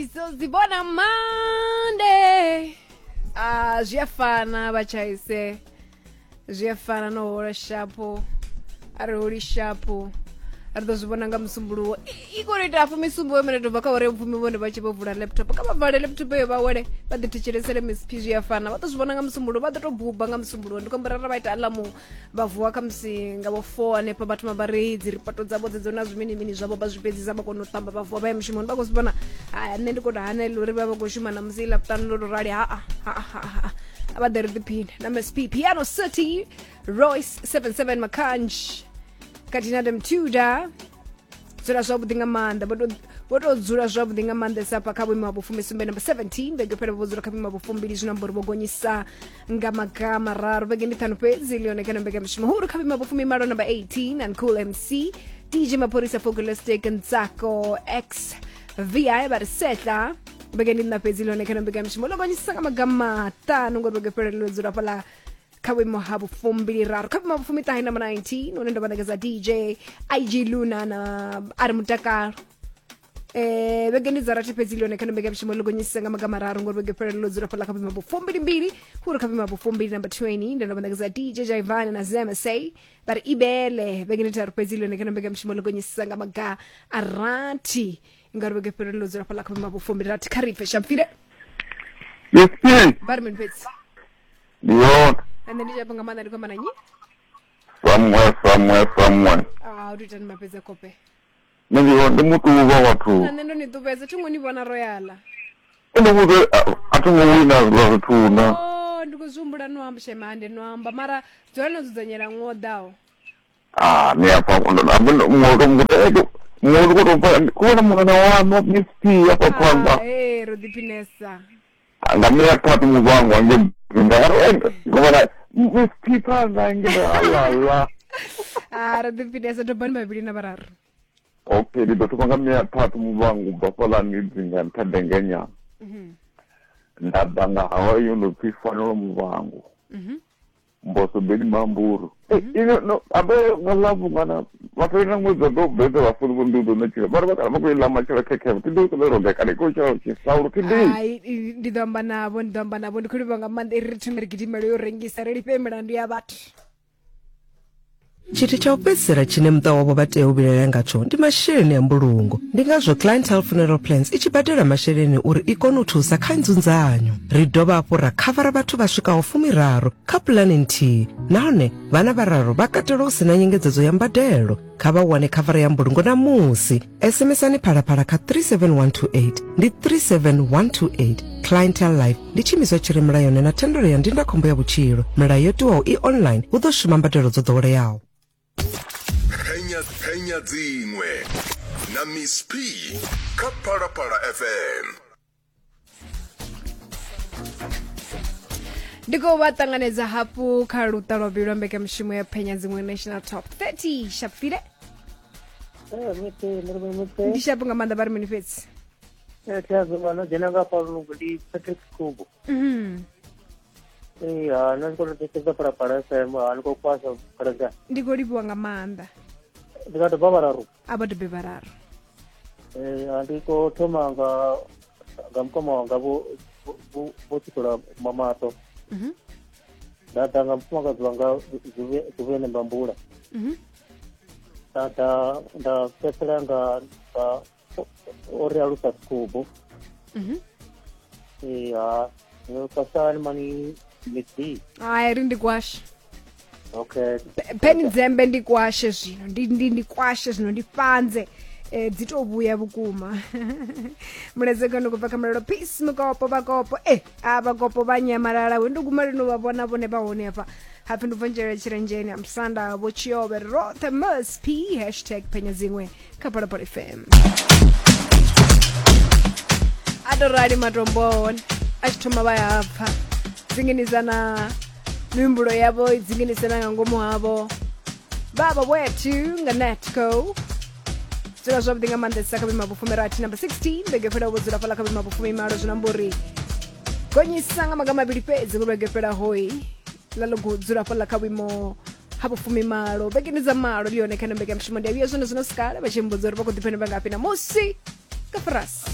Ndizozibona Monday. Ah, zwi a fana vhatshaise zwi a fana no hola shapo a ri holi shapo ri ḓo zwi vhona nga musumbuluwo I khou ita hafhu misumbo mene to bva kha uri mupfumi vhone vha tshi vho vula laptop kha vha vale laptop eyo vha wele vha ḓi thetshelesele Miss P zwi a fana vha ḓo zwi vhona nga musumbuluwo vha ḓo to buba nga musumbuluwo ndi khou amba ra vha ita aḽamu vha vuwa khamusi nga vho 4 hanefha vha thoma vha ri dzi ripoto dzavho dzedzo na zwimini mini zwavho vha zwi fhedzisa vha kona u ṱamba vha vuwa vha ya mushumoni vha khou zwi vhona haya nṋe ndi khou tou hanela uri vha vha khou shuma na musi ḽavhuṱanu ḽo tou rali haa haa haa a vha ḓe ri ḓiphine na msp piano city royce 77 makanj khathihi na demtuda dzula zwavhuḓi nga maanḓa vho tou- vho tou dzula zwavhuḓi nga maanḓesa hafha kha vhuimo ha vhufumisumbe namba 17 vhege fhela vho dzula kha vhuimo ha vhufumbili zwino amba uri vho gonyisa nga maga mararu vhege ndi ṱhanu fhedzi ḽi yone kana mbekanyamushumo huru kha vhuimo ha vhufumimalo namba 18 and cool mc dj maphorisa folklistic ntsako x vi vha ri setla vhege ndi nṋa fhedzi ḽi yone kana mbekanyamushumo ḽo gonyisa nga maga maṱanu ngori vhege fhela ḽo dzula fhaḽa kha vhuimo ha vhufumbiliraru kha vhuimo ha vhufumiṱahe namba 19 hune ndo vha ṋekedza dj ig luna na ari mutakalo eh vhege ndi dza rathi fhedzi ḽone kha mbekamishumo ḽo gonyisa nga maga mararu ngori vhege fhela ḽo dzula fhaḽa kha vhuimo vhufumbilimbili hu ri kha vhuimo vhufumbili namba 20 ndo vha ṋekedza dj jaivane na zmsa vha ri ibele vhege ndi tharu fhedzi ḽone kha mbekamishumo ḽo gonyisa nga maga a rathi ngauri vhege fhela ḽo dzula fhaḽa kha vhuimo vhufumbili rathi kha ri pfe shampfile. Yes, yes. Vha ri mini fhedzi? Ndi yone. Nṋe ndi tshapo nga maanḓa ndi khou amba na nnyi? Somewhere, somewhere, somewhere. Ah, u tou itani mafhedza kope? Nṋe ndi ndi muṱuvha vhathu. Na nṋe ndo ni ṱuvhedza thi ngo ni vhona royala. Ndi vhudze a thi ngo wina zwiḽa zwithu na. Oh, ndi khou zwi humbula no amba shema hande no amba mara dzula no dzudzanyela ṅwe o ḓaho. Ah, ni afha ndo ndo ndo muṅwe ndi khou tou pfa ku vhona mungana waṋu Miss P afha phanḓa. Ah, ee ro ḓiphinesa. Nga mila thathu muvhango wange nda vhona Miss P phanḓa nge alala. Ah, ro ḓiphinesa dobani vhavhili na vhararu. Okay, ndi ḓo thoma nga mila thathu muvhango u bva fhaḽani dzinga nṱha dengenya. Nda ḓa nga hawa yo no pfi fanelo muvhango. Mboso beni mamburu. Ino no abe nga ḽa vhungana vha fhela ṅwedzi wa ḓo bvedza vha funi vho ndi ḓo ṋetshela vha ri vha kana vha khou i ḽa matshelo khekhe thi ḓo ṱoḓa roga kana i khou tshela tshisaulo thi ḓi. Hai, ndi ḓo amba navho ndi ḓo amba navho ndi khou livha nga maanḓa iri ri thome ri gidimele yo rengisa ri lifhe milandu ya vhathu. Tshithu tsha u fhedzisela tshine muṱa wavho vha tea u vhilaela ngatsho ndi masheleni a mbulungo. Ndi ngazwo Clientele Funeral Plans i tshi badela masheleni uri i kone u thusa kha nzunzanyo. Ri dovha hafhu ra khavara vhathu vha swikaho fumiraru kha pulane nthihi nahone vhana vhararu vha katelwa hu si na nyengedzedzo ya mbadelo. Kha vha wane khavara ya mbulungo ṋamusi. SMSani Phalaphala kha 37128 ndi 37128. Clientele Life ndi tshiimiswa tshi re mulayoni na thendelo ya ndindakhombo ya vhutshilo. Milayo yo tiwaho i online hu ḓo shuma mbadelo dzo ḓoweleaho. Penya penya dziṅwe na Miss P kha Phalaphala FM. Ndi khou vha ṱanganedza hafhu kha luṱa lwa vhuvhili lwa mbekanyamushumo ya phenya dziṅwe national top 30 shapfile. Ndi shapo nga maanḓa vha ri mini fhedzi? Thi dzhena nga hafha lungu ndi Patrick Kubu. Ee, ha nṋe ndi khou tou thetshelesa Phalaphala FM, ha ni khou kwasha phalaphala. Ndi khou livhuwa nga maanḓa. Ndi nga doba vhararu. A vha dobe vhararu. Ee, ha ndi khou thoma nga nga mukoma wanga vho vho vho Tshiṱola Mamato. Nda ḓa nga mufumakadzi wanga Zuvhene Mbambula. Nda ḓa nda fhedzisela nga nga o ri alusa Kubu. Ee, ha kwasani mani midzi. Hai ri ndi kwashe. Okay. Peni dzembe ndi kwashe zwino ndi ndi ndi kwashe zwino ndi fhanze eh, dzi to vhuya vhukuma mulaedza kano kubva kha mulalo peace mukopo vhakopo eh a vhakopo vha nyamalala we ndo guma lino vha vhona vhone vha hone hafha hapfi ndi bva nzhele tshirenzheni ha musanda vho tshiovhe roṱhe msp hashtag phenya dziṅwe kha Phalaphala FM a to rali matombo a hone a tshi thoma vha ya pfa dzinginisa na mihumbulo yavho i dzinginisa na nga ngomu havho baba wethu nga natco dzula zwavhuḓi nga maanḓesa kha vhuima vhufumirathi number 16 vhege fhelaho vho dzula fhaḽa kha vhuima vhufumimalo zwino amba uri gonyisa nga maga mavhili fhedzi ngo vhege fhelaho ḽa ḽo dzula fhaḽa kha vhuimo ha vhufumimalo vhegeni dza malo ndi yone kha mbekamishumo ndi a vhuya zwone zwino sikale vha tshi mbudza uri vha khou ḓiphina vha ngafhi na musi ka furasi.